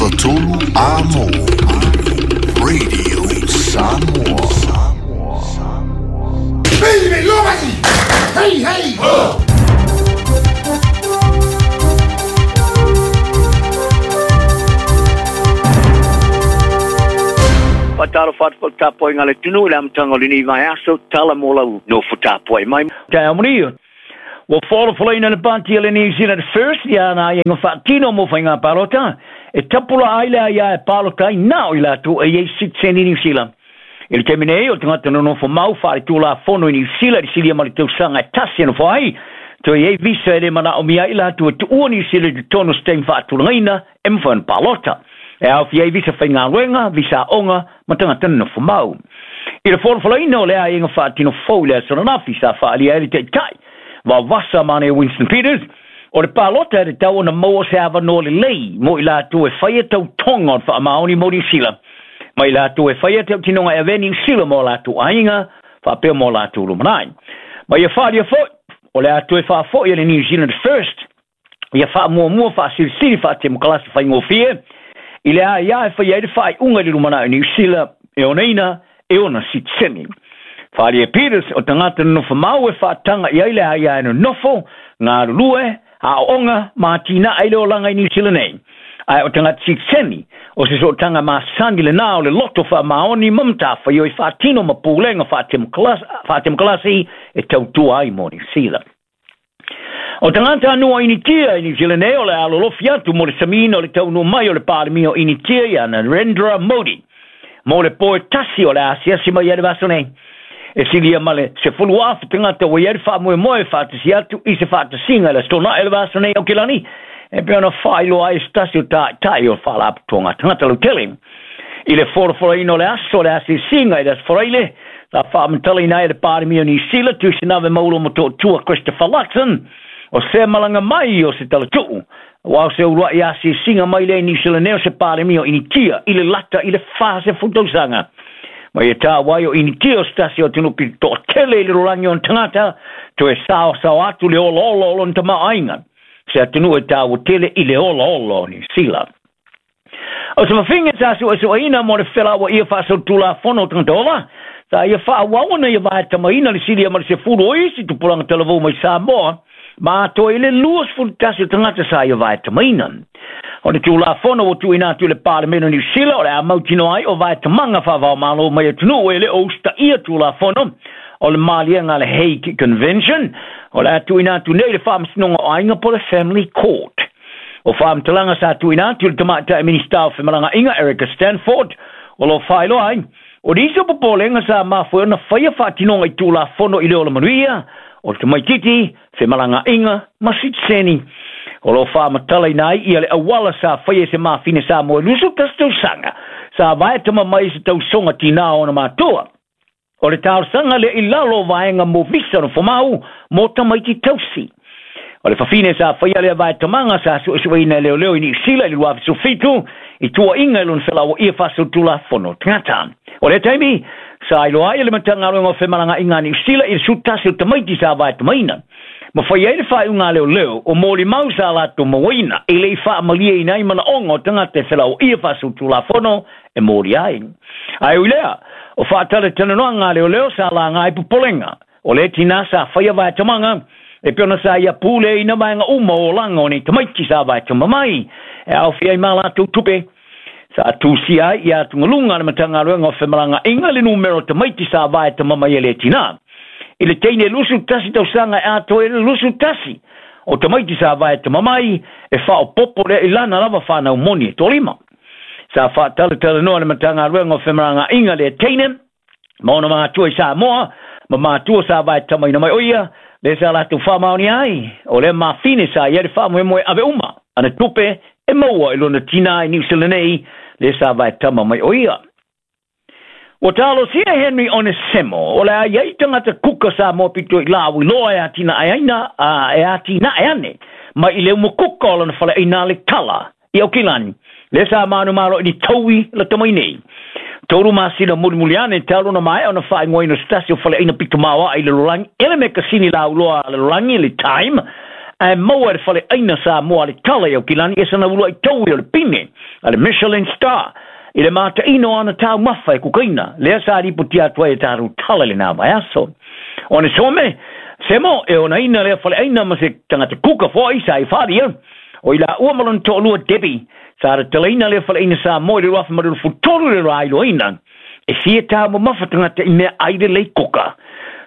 Fagatolu Amo Radio Samoa. Hey, hey! Faatalofa atu foi i le tapuaiga a le atunuu i le amataga o lenei vaiaso, tala mo lau nofo tapuai mai. Taeao manuia. Ua folafolaina e le Pāti a le New Zealand First ia ana aiaiga faatino mo faiga palota e tapulaa ai le aia e palota ai na o i latou e i ai sitiseni Niu Sila. I le taimi nei, o le tagata nonofo mau faaletulafono i Niu Sila i le silia ma le tausaga e tasi e nofo ai, toe i ai visa e le manaomia ai i latou e tuua Niu Sila i totonu o se taimi faatulagaina e mafai ona palota. E aofia ai visa faigaluega, visa aoga ma tagata nonofo mau. I le folafolaina o le aiaiga faatino fou i le aso ananafi sa faaalia ai le Taitai Vavasa Mane Winston Peters, o le palota e tatau ona maua se avanoa lelei mo i latou e faia tautoga o le faamaoni mo Niu Sila, ma i latou e faia tautinoga e avea Niu Sila mo latou aiga faapea mo latou lumanai. Ma ia faaalia foi, o le a toe faafoi e le New Zealand First ia faamuamua faasilisili faatemokalasi faigofie i le aia e faia ai le faaiuga i le lumanai o Niu Sila e onaina e ona sitiseni. Faaalia e Peters o tagata nonofo mau e faataga i ai le aia e nonofo, galulue, aooga ma atinae i le olaga i Niu Sila nei. Ae o tagata sitiseni, o se sootaga masani lena o le loto faamaoni ma matafaioi faatino ma pulega faatemokalasi e tautua ai mo Niu Sila. O tagata anua o Initia i Niu Sila nei o le a lolofi atu mo le samiina o le taunuu mai o le Palemia o Initia ia Narendra Modi mo le po e tasi o le a asiasi mai ai le vaiaso nei. E silia ma le 10,000 tagata ua i ai le faamoemoe e faatasi atu i se faatasiga i le Aso Toonai o le vaiaso nei i Aukilani e pei ona faailoa ai e se tasi o taitai o le Faalapotopotoga Tagata Lautele. I le folafolaina o le aso o le asiasiga i le Aso Faraile, sa faamatalaina ai e le Palemia o Niu Sila, Tuisinave Maulo Motootua Christopher Luxon, o se malaga mai o se talatuu, aua o se uluai asiasiga mai lea i Niu Sila nei o se Palemia o Initia i le lata i le 40 tausaga. Ma ia taua ai o Initia o se tasi o atunuu pito toatele i le lalolagi o ona tagata, toe saosaoa atu le olaola o lona tamaoaiga, se atunuu e taua tele i le olaola o Niu Sila. O se fafine sa suesueina mo le felauaia faasolitulafono o tagata ola, sa ia faaauau ona ia vaetamaina le silia ma le 10 o isi tupulaga talavou mai Samoa, ma atoa i le 21 o tagata sa ia vaetamaina. O le Tulafono ua tuuina atu i le Palemene o Niu Sila o le a mautinoa ai o vaetamaga faavaomalo mai atunuu e le o usitaia Tulafono o le Maliega a le Hague Convention, o le a tuuina atu nei i le Faamasinoga o Aiga po o le Family Court. O faamatalaga sa tuuina atu i le Tamaitai Minisita o Femalagaaiga Erica Stanford o lo o faailoa ai, o nisi o popolega sa mafua ai ona faia faatinoga i Tulafono i le ola manuia o le tamaitiiti, femalagaaiga ma sitiseni. O lo o faamatalaina ai ia le auala sa faia e se mafine Samoa i 21 tausaga sa vaetama mai i se tausoga tinā o ona matua. O le talosaga lea i lalo o vaega mo visa nofomau mo tamaiti tausi. O le fafine sa faia lea vaetamaga sa suesueina e leoleo i Niu Sila i le 2017 i tuuaiga i lona felauaia faasolitulafono tagata. O lea taimi, sa iloa ai e le Matagaluega o Femalagaaiga a Niu Sila i le 11 o tamaiti sa vaetamaina. Ma fai ai le faaiuga a leoleo o molimau sa latou mauaina e le i faamalieina ai manaoga o tagata e felauaia faasolitulafono e molia ai. Ae ui lea, o faatalatalanoaga a leoleo sa laga ai popolega o le tinā sa faia vaetamaga, e pei ona sa ia puleaina vaega uma o olaga o nei tamaiti sa vaetama mai, e aofia ai ma latou tupe. Sa tusia ai ia atugaluga a le Matagaluega o Femalagaaiga le numera o tamaiti sa vaetama mai e le tinā. I le teine 21 tausaga e atoa ai le 21 o tamaiti sa vaetama mai, e faaopoopo lea i lana lava fanau moni e toalima. Sa faatalatalanoa le Matagaluega o Femalagaaiga le teine ma ona matua i Samoa ma matua sa vaetamaina mai o ia, lea sa latou faamaonia ai, o lea mafine sa i ai le faamoemoe ave uma ana tupe e maua i lona tinā i Niu Sila nei, lea sa vaetama mai o ia. Ua talosia e Henry Onesemo, o le a i ai tagata kuka Samoa pito i lauiloa e atinaeaina, a e atinae ane mai i le uma kuka o lona faleaina le tala i Aukilani, lea sa manumalo i ni taui lata mai nei. Tolu masina mulimuli ane talu ona maea ona faaigoaina o se tasi o faleaina pito maoae i le lalolagi e le mekasini lauiloa a le lalolagi, le Time, Ae maua e le Faleaiga Samoa a le Tala i Aukilani e sana uluai taui o le pine a le Michelin Star i le mataina o ana taumafa e kukaina, lea sa lipotia atu ai e tatou tala i lena vaiaso. Onesome Semo e onaina lea faleaiga ma se tagata kuka foi sa i faaalia, o i laua ma lona toalua Debbie sa tatalaina lea faleaiga Samoa i le 2023 i le railoaina e fia taumamafa tagata i mea ai lelei kuka.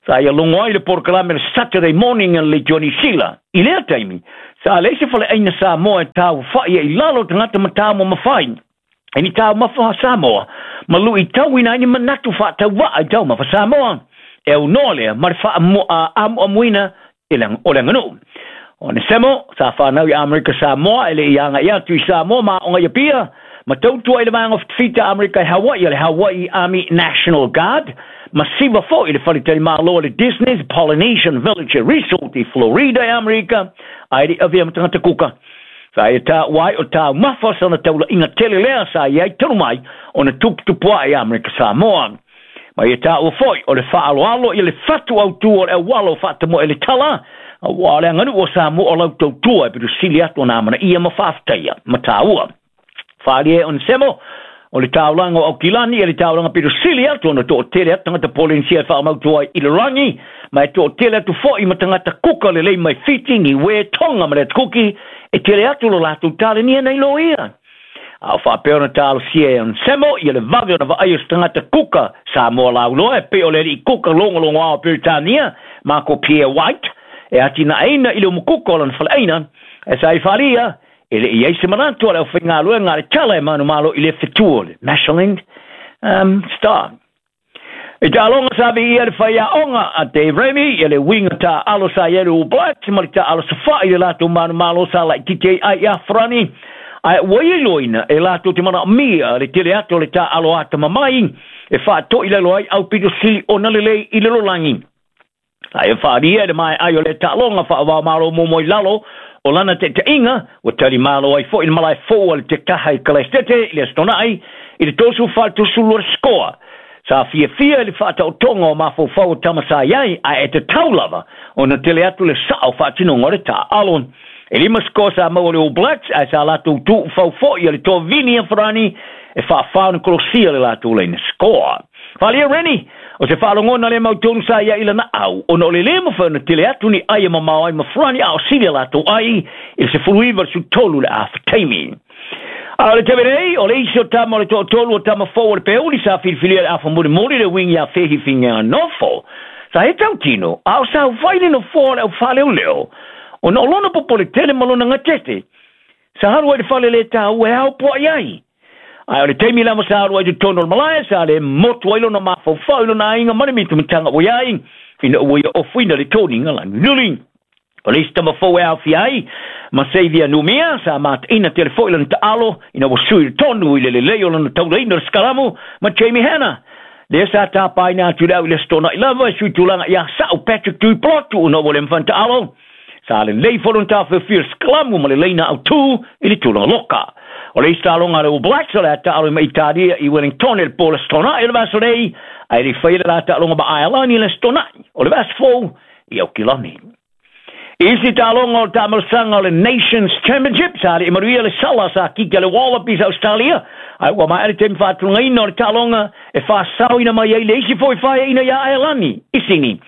Sa ia logo ai le polokalame le Saturday Morning a le Leitio Niu Sila. I lea taimi, sa leai se faleaiga Samoa e taufa'i ai i lalo tagata ma taumamafa ai i ni taumafa Samoa ma luitauina ai ni manatu faatauvaa i taumafa Samoa e aunoa lea ma le faaamuamuina o le aganuu. O Nesemo, sa fanau i Amerika Samoa e le i aga'i atu i Samoa ma aoga i Apia, ma tautua i le Vaega o Fitafita Amerika i Hawaii a le Hawaii Army National Guard, ma siva foi i le faletalimalo a le Disney's Polynesian Village Resort i Florida i Amerika, ae le i avea ma tagata kuka. Sa ia taua ai o taumafa sana taula'iga tele lea sa i ai talu mai ona tuputupua'i i Amerika Samoa. Ma ia taua foi o le faaaloalo ia le fatu autū o le auala o faatamoe le tala, auā o le aganuu o Samoa o lau tautua e pito sili atu ona amanaia ma faafetaia ma taua. Faaalia e Onesemo, o le taulaga o Aukilani ia le taulaga pito sili atu ona toatele atu tagata Polenisia e faamautu ai i le lagi, ma e toatele atu foi ma tagata kuka lelei mai Fiti, Niue, Tonga ma le Atukuki, e tele atu lo latou talenia nei loia. A o faapea ona talosia e Onesemo ia le vave ona vaai o se tagata kuka Samoa lauloa e pei o le alii kuka logologoa o Peretania, Marco Pierre White, e atinaeina i le umukuka o lana faleaina, e sa i faaalia e le i ai se manatu a le aufaigaluega a le tala e manumalo i le fetu o le Michelin Star. I taaloga sa viia le faiaoga a Dave Remy ia le uiga taaalo sa i ai le All Blacks ma le taaalo safa'i i le latou manumalo sa laitiiti ai ai ia Farani, ae ua iloina e latou te manaomia le tele atu o le taaalo atamamai e faatoilalo ai aupito sili ona lelei i le lalolagi. Ae faaalia i le maeai o lea taaloga faavaomalo muamua i lalo o lana taitaiga, ua talimalo ai foi le malae fou a le Tekaha i Kalaestete i le Aso Toonai i le 34 32 le sikoa. Sa fiafia i le faataotoga o mafaufau o tama sa i ai, ae e tatau lava ona tele atu le sao faatinoga o le taaalo. E lima sikoa sa maua le All Blacks, ae sa latou tuufau foi a le toa Vini Afarani e faafa ona kolosia le latou laina sikoa. Faaalia Rennie, o se faalogona le mautonu sa ia i lana au, ona o le lē mafai ona tele atu ni ai e mamao ai ma Farani a o sili a latou ai i le 19 le 13 le afa taimi. A o le taimi nei, o le isi o tama o le toatolu o tama fou o le Peuli sa filifilia le afa mulimuli le uiga ia Fehifinga Nofo. Sa he tautino, a o sa ufai le nofoa o le aufaaleoleo, ona o lona popole tele ma lona gatete. Sa alu ai i le fale le taua e ao poa'i ai. Ae o le taimi lava sa alu ai i totonu o le malae, sa le motu ai lona mafaufau i lona aiga ma le mitamitaga ua i ai, ina ua ia ofuina le toniga lagiluli. O le isi tama fou e aofia ai ma Xavier Numia, sa mataina tele foi lana taalo ina ua sui tonu i le lelei o lana taulaina o le sikalamu ma Jamie Hannah. Lea sa tapaina atu i le au i le Aso Toonai lava e sui tulaga ia Sa'u Patrick Tuipulotu ona ua le mafai ona taalo. Sa lelei foi lona taofeofia o le sikalamu ma le laina autū i le tulaga loka. O le isi taaloga a le All Blacks o le a taalo ai ma Italia i Wellington i le po o le Aso Toonai o le vaiaso nei, ae le i faia le la taaloga ma Aelani i le Aso Toonai o le vaiaso fou i Aukilani. I isi taaloga o le taamalosaga o le Nations Championship, sa alii manuia le sala sa kiki a le Wallabies a Australia, ae ua maea le taimi faatulagaina o le taaloga e faasaoina mai ai le isi foi faeaina iā Aelani i Sini.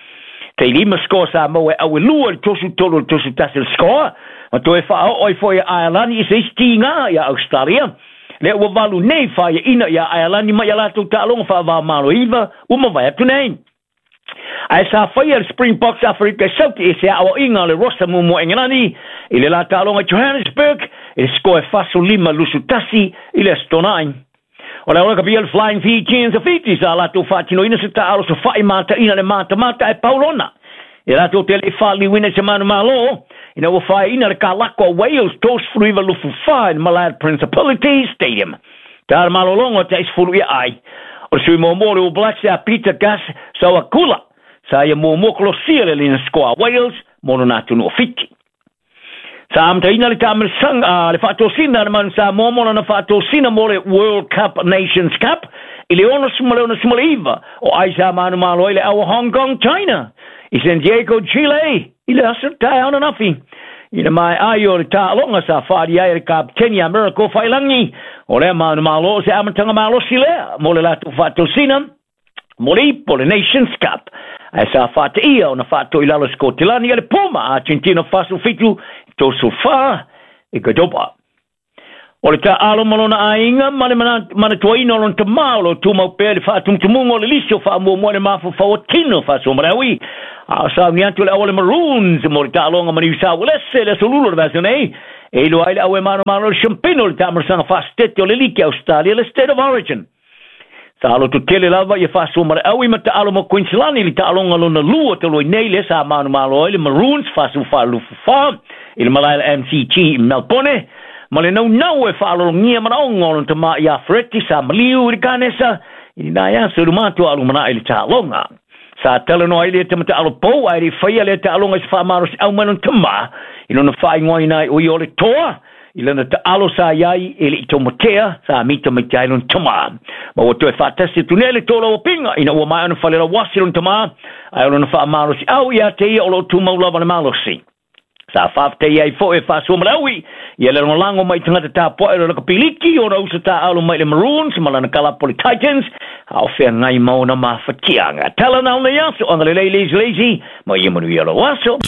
Tei lima score sa maua e Auelua i le 33 i le 31 le score, ma toe faaoo ai foi e Aelani i se isi tiga iā Australia. Lea ua valu nei faeaina iā Aelani mai a latou taaloga faava-o-Malo e iva ua mavae atu nei. Ae sa faia le Springboks Aferika i Sauti i se aoaiga o le Rosa muamua Engelani i le la taaloga i Johannesburg i le score e 45-21 i le Aso Toonai. O le Rugby le Flying Fijians a Fiti sa latou faatinoina se taaalo sofa'i mataina le matamata e pau lona e latou te le i faaliliuina i se manumalo ina ua faeaina le kalako a Wales 39-24 i le malae o le Principality Stadium. Ta le malologa o te 10 ia ai. O le sui muamua o le All Blacks ia Peter Gus Sowakula sa ia muamua kolosia le laina score a Wales mo lona atunuu o Fiti. Sa amataina le taamilosaga a le faatosina a le Manu Samoa mo lana faatosina mo le World Cup Nations Cup i le 69 o ai sa manumalo ai le au o Hong Kong, China i San Diego, Chile i le aso taeao ananafi. I le maea ai o le taaloga sa faaali ai e le Kapeteni ia Miracle Faiilagi, o lea manumalo o se amataga malosi lea mo le latou faatosina mo le ipo le Nations Cup. Ae sa faateia ona faatoilalo e Sikotilani a le Puma Argentina 47 34 i Cordoba. O le taaalo ma lona aiga ma le manatuaina o lona tamā o lo o tumau pea i le faatumutumuga o le lisi o faamuamua i le mafaufau o tino faasuamalaui. A o sauni atu le au a le Maroons mo le taaloga ma Niu Saualese i le aso Lula o le vaiaso nei, e iloa ai le au e manomano i le Shampino i le taamalosaga faasetete o le Liki a Ausetalia le State of Origin. Sa lototele lava ia faasuamalaui ma taalo ma Queensland i le taaloga lona lua talu ai nei lea sa manumalo ai le Maroons 44 i le malae a le MCG i Melbourne ma le naunau e faalologia manaoga o lona tama ia Fereti sa maliu i le kanesa i lena aso i luma atu a lumanai i le taaloga. Sa talanoa ai lea tama taalo pou ae le i faia lea taaloga i se faamalosiau mai lona tama i lona faaigoaina ai o ia o le toa i lana taalo sa i ai e le i taumatea sa mitamita ai lona tama. Ma ua toe faatasi atu nei le tolauapiga ina ua maea ona falelauasi lona tama ae o lona faamalosiau ia te ia o lo o tumau lava le malosi. Sa faafetai ai foi e Faasua Malawi ia le lagolago mai tagata tapuai o le lakapi liki ona uso taaalo mai le Maroons ma lana kalapo le Titans a o feagai ma ona mafatiaga. Tala na o nei aso, agalelei lazy lazy, ma ia manuia lou aso.